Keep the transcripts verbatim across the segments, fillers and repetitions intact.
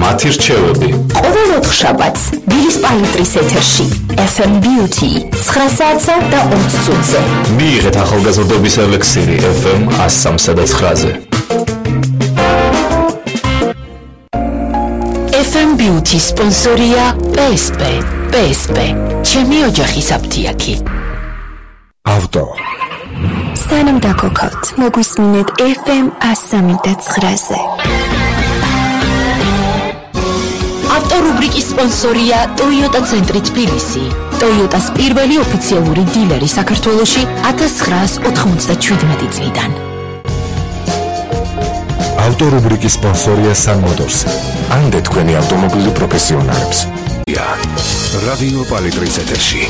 მათი რჩევები. ყოველ ოთხშაბათს ბილის პალიტრის ეთერში ეფ ემ Beauty ცხრა საათსა და ოცი წუთზე. მიიღეთ ახალგაზრდობის ელექსირი ეფ ემ one oh three და nine-ზე. ეფ ემ Beauty სპონსორია პე ეს პე. პე ეს პე ჩემი ოჯახის აფთიაქი. ავტო სანამ დაგოქავთ, მოგვისმინეთ ეფ ემ one oh three და nine-ზე. ავტორუბრიკის სპონსორია Toyota ცენტრი თბილისი. Toyota-ს პირველი ოფიციალური დილერი საქართველოში one thousand nine hundred ninety-seven წლიდან. ავტორუბრიკის სპონსორია Sun Motors. ამდე თქვენი ავტომობილი პროფესიონალებს. რადიო პალიტრის ეთერში.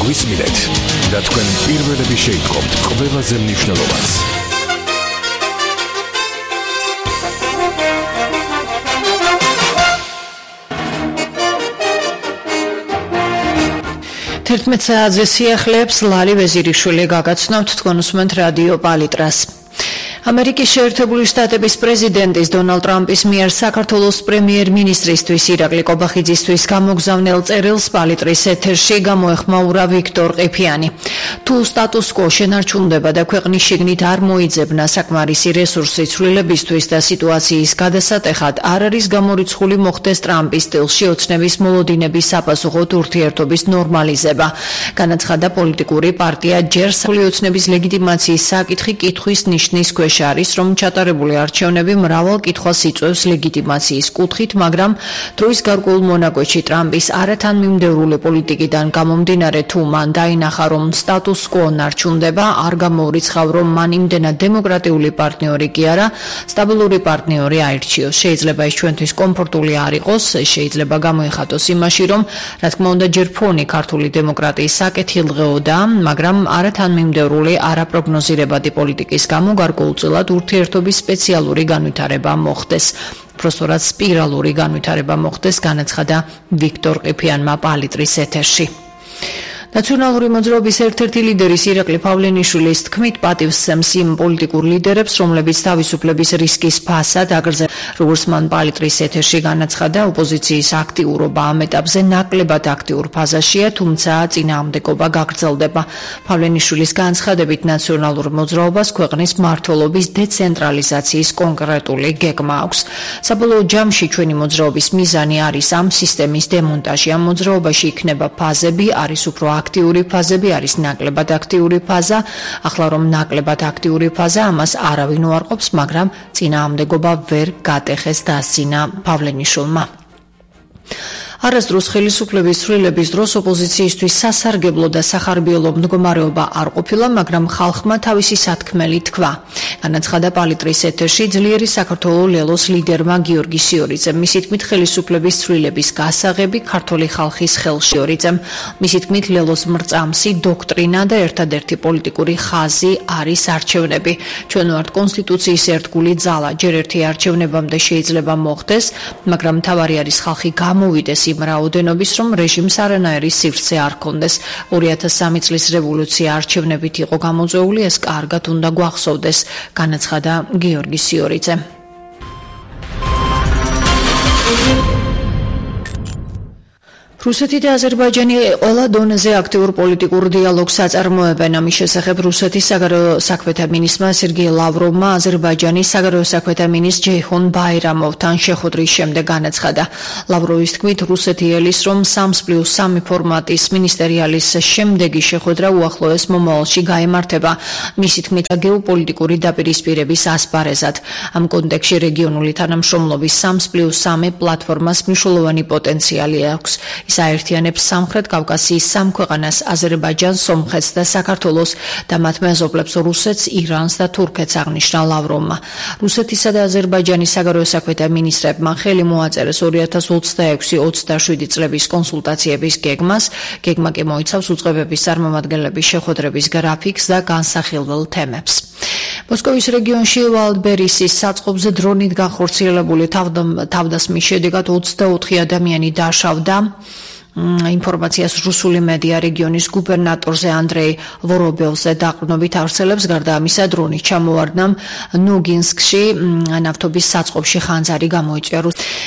გვისმინეთ და თქვენ პირველები შეიტყობთ ყველაზე მნიშვნელოვანს. თერთმეტ საათზე სიახლეებს ლალი ვეზირიშვილი გაგაცნობთ თქვენ უსმენთ რადიო პალიტრას. ამერიკის შეერთებული შტატების პრეზიდენტის დონალდ ტრამპის მიერ საქართველოს პრემიერ-მინისტრისთვის ირაკლი კობახიძისთვის გამოგზავნილ წერილს პალიტრის ეთერში გამოეხმაურა ვიქტორ ყიფიანი. თუ სტატუს-კვო შენარჩუნდება და ქვეყნის შიგნით არ მოიძებნა საკმარისი რესურსი ცვლილებისთვის და სიტუაციის გადასატეხად არ არის გამორიცხული მოხდეს ტრამპის სტილში ოცნების მოლოდინების საპასუხოდ ურთიერთობის ნორმალიზება. განაცხადა პოლიტიკური პარტია ჯერ სრული ოცნების ლეგიტიმაციის საკითხი კითხვის ნიშნის ქვეშ არის, რომ ჩატარებული არჩევნები მრავალ კითხვას იწვევს ლეგიტიმაციის კუთხით, მაგრამ დროის გარკვეულ მონაკვეთში ტრამპის არათანმიმდევრული პოლიტიკიდან გამომდინარე, თუ მან დაინახა, რომ სტატუს-კვო ნარჩუნდება, არ გამოურიცხავ, რომ მან იმდენად დემოკრატიული პარტნიორი კი არა, სტაბილური პარტნიორი აირჩიოს. შეიძლება ის ჩვენთვის კომფორტული არ იყოს, შეიძლება გამოიხატოს იმაში, რომ რა თქმა უნდა ჯერ ფონი ქართული დემოკრატიის საკეთილდღეოდა, მაგრამ არათანმიმდევრული, არაპროგნოზირებადი პოლიტიკის გამო გარკვეულწილად ურთიერთობის სპეციალური განვითარება მოხდეს. პროსტორად სპირალური განვითარება მოხდეს, განაცხადა ვიქტორ ყიფიანმა პალიტრის ეთერში. ნაციონალური მოძრაობის ერთ-ერთი ლიდერის ირაკლი პავლენიშვილის თქმით პატივს სცემს იმ პოლიტიკურ ლიდერებს, რომლებიც თავისუფლების რისკის ფასად აგრძელებენ. როგორც მან პალიტრის ეთერში განაცხადა, ოპოზიციის აქტიურობა ამ ეტაპზე ნაკლებად აქტიურ ფაზაშია, თუმცა წინააღმდეგობა გაგრძელდება. პავლენიშვილის განცხადებით, ნაციონალურ მოძრაობას ქვეყნის მმართველობის დეცენტრალიზაციის კონკრეტული გეგმა აქვს. საბოლოო ჯამში ჩვენი მოძრაობის მიზანი არის ამ სისტემის დემონტაჟი. ამ მოძრაობაში იქნება ფაზები, არის უფრო აქტიური ფაზები, არის ნაკლებად აქტიური ფაზა. ახლა რომ ნაკლებად აქტიური ფაზა, ამას არავინ უარყოფს, მაგრამ წინააღმდეგობა ვერ გატეხეს დასძინა პავლენიშვილმა. არასდროს ხელისუფლების ცვლილების დროს ოპოზიციისთვის სასარგებლო და სახარბიელო მდგომარეობა არ ყოფილა, მაგრამ ხალხმა თავისი სათქმელი თქვა. განაცხადა პალიტრის ეთერში ძლიერი საქართველოს ლელოს ლიდერმა გიორგი სიორიძემ. მისი თქმით, ხელისუფლების ცვლილების გასაღები ქართული ხალხის ხელში ორიძემ. მისი თქმით, ლელოს მრწამსი დოქტრინა და ერთადერთი პოლიტიკური ხაზი არის არჩევნები. ჩვენ ვართ კონსტიტუციის ერთგული ძალა. ჯერ ერთი არჩევნებამდე შეიძლება მოხდეს, მაგრამ მთავარი არის ხალხი გამოვიდეს იმ რაოდენობის, რომ რეჟიმს არანაირი სივრცე არ ჰქონდეს. ორი ათას სამი წლის რევოლუცია არჩევნებით იყო გამოწვეული, ეს კარგად უნდა გვახსოვდეს, განაცხადა გიორგი სიორიძე. რუსეთი და აზერბაიჯანი ყველა დონეზე აქტიურ პოლიტიკურ დიალოგს აწარმოებენ. ამის შესახებ რუსეთის საგარეო საქმეთა მინისტრმა სერგეი ლავროვმა აზერბაიჯანის საგარეო საქმეთა მინისტრ ჯეიჰონ ბაირამოვთან შეხვედრის შემდეგ განაცხადა. ლავროვის თქმით, რუსეთი ელის, რომ სამს პლუს სამი ფორმატის მინისტერიალის შემდეგი შეხვედრა უახლოეს მომავალში გაემართება. მისი თქმით, გეოპოლიტიკური დაპირისპირების ასპარეზად. ამ კონტექსტში რეგიონული თანამშრომლობის სამს პლუს სამი პლატფორმას მნიშვნელოვანი პოტენციალი აქვს. ის აერთიანებს სამხრეთ კავკასიის სამ ქვეყანას, აზერბაიჯანს, სომხეთს და საქართველოს და მათ მეზობლებს რუსეთს, ირანს და თურქეთს, აღნიშნა ლავროვმა. რუსეთისა და აზერბაიჯანის საგარეო საქმეთა მინისტრებმა ხელი მოაწერეს ორი ათას ოცდაექვსი ოცდაშვიდი წლების კონსულტაციების გეგმას. გეგმა კი მოიცავს უწყებების წარმომადგენლების შეხვედრების გრაფიკს და განსახილველ თემებს. მოსკოვის რეგიონში ვალდბერისის საწყობზე დრონით განხორციელებული თავდასხმის შედეგად ოცდაოთხი ადამიანი დაშავდა. ინფორმაციას რუსული მედია რეგიონის გუბერნატორზე ანდრეი ვორობელზე დაყრდნობით ავრცელებს. გარდა ამისა, დრონით ჩამოვარდნამ ნოგინსკში ნავთობის საწყობში ხანძარი გამოიწვია.